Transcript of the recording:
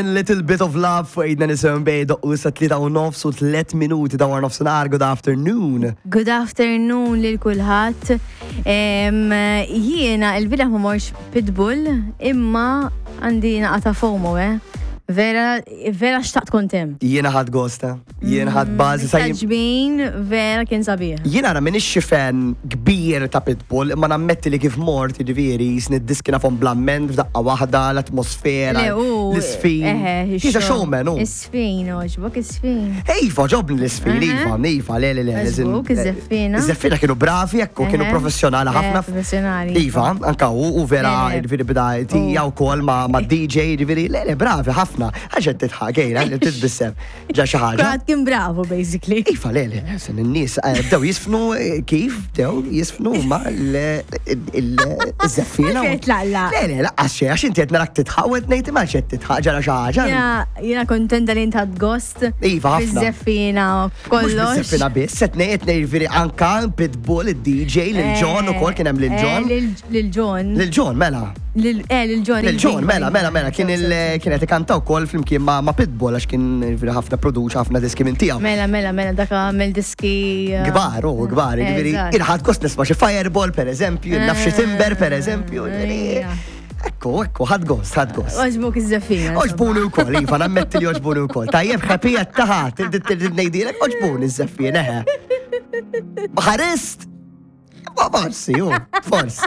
Little bit of love fuq idna nisem bej doqqu sa 3 u nofs u 3 minuti dawar nofsinhar. Good afternoon. Good afternoon lil kulħadd. Jiena il-bieraħ ma morx Pitbull imma għandi naqa ta' FOMO, eh. Vera, vera xtaqt kont hemm. Jiena ħadd gosta. Jien ħadd bażi sa Ġbin vera kien sabiħ. Jien ara minix xi fan kbir ta' Pitbull, imma nammetti li kif mort jiġifieri jisni d-diski nafhom bl-amment f'daqqa waħda, l-atmosfera, l-isfin. He's a showman hu. Isfin, oġbok isfin. Iva, ġobni l-isfin, iva, iva, le, le, le. Oġbok iż-żeffina. Iż-żeffina kienu bravi, ekku, kienu professjonali ħafna. Professjonali. Iva, anka u vera, jiġifieri bida tija wkoll ma' DJ, jiġifieri, le, le, bravi ħafna. Għax qed tidħak, ejra, titbissem. Ġa xi ħaġa. Kulħadd kien bravu basically. Iva, le, le, sen in-nies eh, bdew jisfnu eh, kif bdew jisfnu ma l-żeffina. Tlaqla. Le, le, laqqas xejn, għax inti qed narak titħaq u qed ngħid ma xed titħaq ġara xi ħaġa. Jiena kontenta li inti gost. Iva, ħafna. Biż-żeffina kollox. Biż-żeffina biss, qed ngħid ngħid anka Pitbull, id-DJ, lil John ukoll kien hemm lil eh, John. Lil John. Lil John, mela. Lil eh, lil John. Lil John, mela, mela, mela, kien il kien qed ikanta wkoll flimkien ma' ma' Pitbull għax kien jiġifieri ħafna produċa ħafna diski minn tiegħu. Mela, mela, mela, dak għamel diski. Eh, Kbar, u kbar, jiġifieri il-ħadd gost nisma' xi Fireball pereżempju, naf xi Timber pereżempju, jiġifieri. Ekku, ekku, ħadd gost, ħadd gost. Oġbuk iż-żeffina. Oġbuni wkoll, iva, nammetti li oġbuni wkoll. Tajjeb, ħappy qed taħat, ngħidilek oġbuni ż-żeffina, eħe. Ħarist? Forsi, forsi.